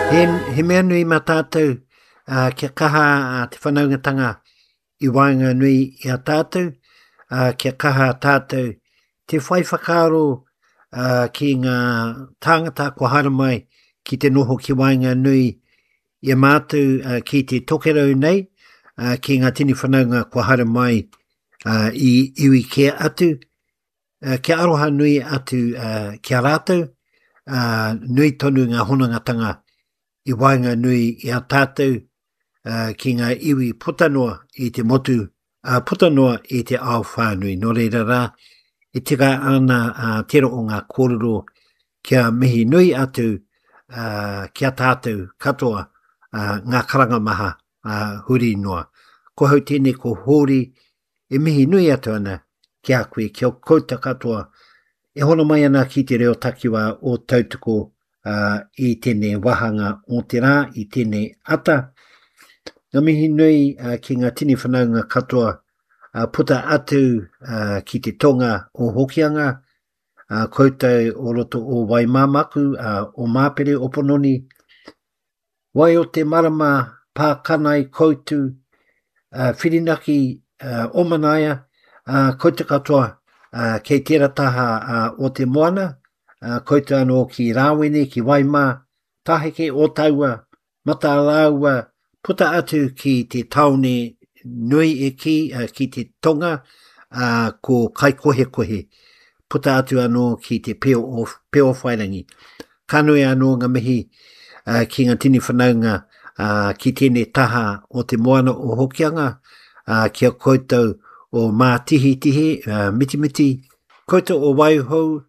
He, he mea nui mā tātou uh, kia kaha uh, te whanaungatanga i waenganui i a tātou, uh, kia kaha tātou te whai whakaaro uh, ki ngā tāngata kua haere mai ki te noho ki waenganui i a mātou uh, ki te tokerau nei, uh, ki ngā tini whanaunga kua haere mai uh, i iwi kē atu, uh, kia aroha nui atu uh, ki a rātou, uh, nui tonu ngā honongatanga i waenganui i a tātou uh, ki ngā iwi puta noa i te motu, uh, puta noa i te ao whānui. Nō reira rā, e tika ana uh, tērā o ngā kōrero kia mihi nui atu uh, ki a tātou katoa uh, ngā karanga maha uh, huri noa. Ko hau tēnei ko Hōri E mihi nui atu ana ki a koe, ki a koutou katoa e hono mai ana ki te reo takiwā o Tautoko uh, i tēnei wāhanga o te rā, i tēnei ata. Ngā mihi nui uh, ki ngā tini whanaunga katoa uh, puta atu uh, ki te tonga o Hokianga, uh, koutou o roto o Waimāmaku, uh, o Māpere, o Pononi, Wai o te marama pākanai koutu, uh, whirinaki uh, omanaia, uh, koutou katoa uh, kei tērā taha uh, o te moana, uh, koutou anō ki Rāwene, ki Waimā, Taheke, Ōtaua, Matarāua, puta atu ki te tāone nui e kī, uh, ki te tonga, uh, ko Kaikohekohe, puta atu anō ki te peo o, peo whairangi. Ka nui anō ngā mihi uh, ki ngā tini whanaunga uh, ki tēnei taha o te moana o Hokianga, uh, ki a koutou o Mātihitihi, uh, Mitimiti, koutou o Waihou,